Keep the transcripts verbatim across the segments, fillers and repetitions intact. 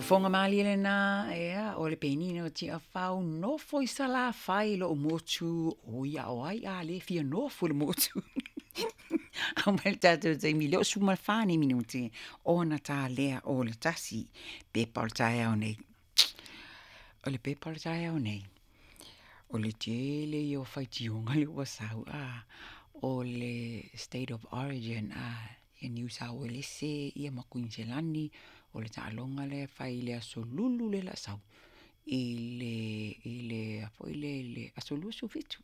Fofoga malie lena, ea, o le penina o Tiafau, nofo i Salafai lou motu, o ia o ai a le fia nofo i le motu. Au mai le tatou taimi lea o sefulu ma le fa nei minute ona ta lea o le tasi. Pepa o le taeao nei. O le pepa o le taeao nei, o le tele ia o faitioga lea ua sau, a, o le State of Origin, a, ia Niu Sao Uelese ia ma Kuiniselani, o le taaloga lea e fai i le Aso Lulu lea o le a sau, i le, i le, a foi lea i le aso luasefulu fitu.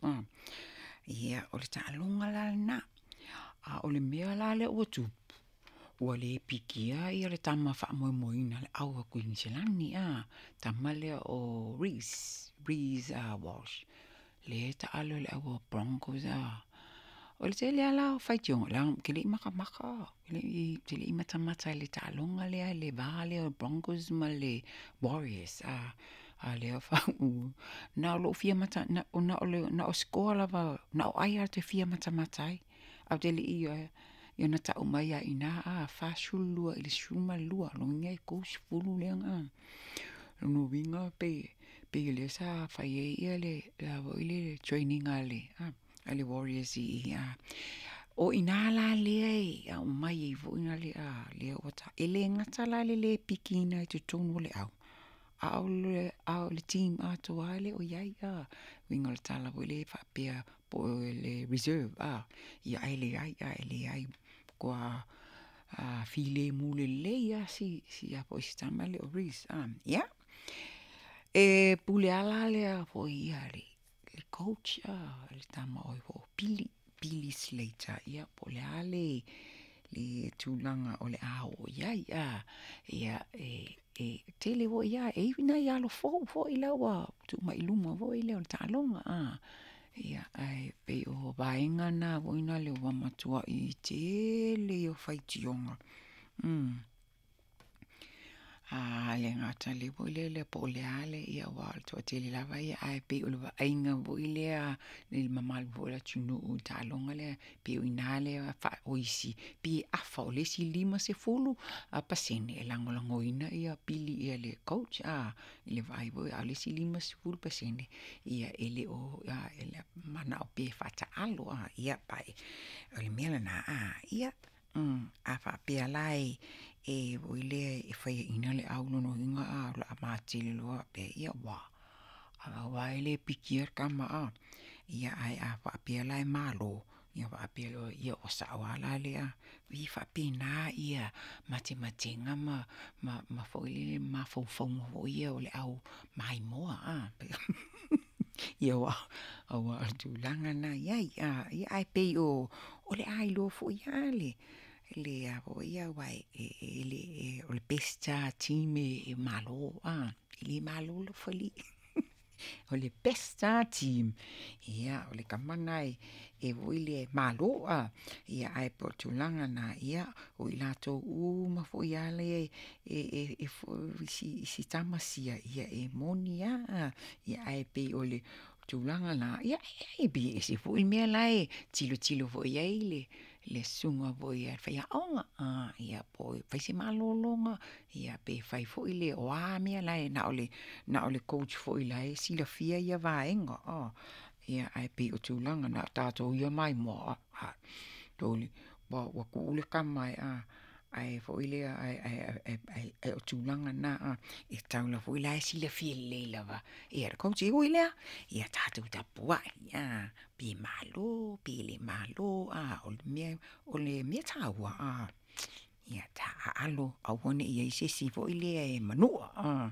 Ia, o le taaloga la lena, a o le mea la lea ua tupu, ua le pikia le tama faamoemoeina a le au a Kuiniselani, a, tama lea o Reece, Reece Walsh, lea e taalo i le au a Broncos, a. O le tele lava la o faitioga, leaga ou te le i matamata, ou te le i matamata i le taaloga lea i le va lea o Broncos ma le Warriors, a, a o lea na o lou fia mata, na o le na o score lava, na o ai lava ou te fia matamata ai, ae ou te le i, ia na tau mai lava i ina, a, fasefulu lua i le sefulu ma le lua, lona uiga e tolusefulu lea na, lona uiga pei pei o lea sa fai ai le a foi le training a le a le Warriors i i. O i ina la lea e aumai ai foi na le a lea ua ta, e le gata la i le le pikiina i totonu o le au, a o le, a o le team atoa e le o i ai, a. Uiga o le tala foi lea faapea po o le reserve, a, ia ae leai, a e leai, matua filemu lelei lava si si a foi si tama lea o Reece, a. Ia, e pule lava la le foi ia le le coach, a, le tama o ai foi o Billy, Billy Slater, ia po o le a le le tulaga o le a oo i ai, a. Ia, e e tele foi lava, e i ai nai alo fou foi la ua tuu mai i luma foi lea o le taaloga, a. Ia, ae pei o vaega na foi lea ua matuai tele ia o faitioga. A le gata le foi lele po o le a le, ia aua o le toatele lava ia, ae pei o le vaaiga foi lea i le mamalu foi o le atunuu i le taaloga lea, pei o i ina lea o isi, pei e afa, o le isi limasefulu pasene e lagolagoina ia Pili ia le coach, a, i le vaai foi, a o le isi limasefulu pasene, ia e le o, a, e manao pea e faataalo, a, ia, o le mea lena, a, ia, a faapea la e e foi lea e faiaina le au, lona uiga a o le a matele loa faapea, ia ua, aua e le pikia le tama, a. Ia ae a faapea la e malo, ia faapea loa, ia ua sao lava la lea, e faapena ia matematega ma ma ma foi lele mafaufauga foi ia o le au maimoa, a. Ia aua aua o le tulaga lena e i ai, a, ia ae pei o o le a iloa foi lava le le a foi aua e e le o le best lava team e malo, a, e le malo laufalii. O le best lava team, ia o le tama lena e foi lea e malo, a, ia ae pei o le tulaga lena, ia o i latou uma foi lava lea e e e i si tama sia, ia e moni lava, ia ae pei o le tulaga lena, ia e pei e ese foi le mea la e tilotilo foi i ai le le susuga foi a le faiaoga, a, ia po o fai se malologa, ia pe fai foi le, o a mea la e na o le na o le coach foi la e silafia ia vaega, a. Ia ae pei o tulaga na o tatou ia maimoa, a, toli, ua ua tuu le tama e a, ae foi lea, ae ae ae ae o tulaga na, a, e tatau lava foi la e silafia lelei lava e le coach. E ui i lea, ia tatou tapuai, a, pe malo pe le malo, a, o le mea o le mea taua, a, ia taaalo, aua ne i i ai se isi foi lea e manua, a.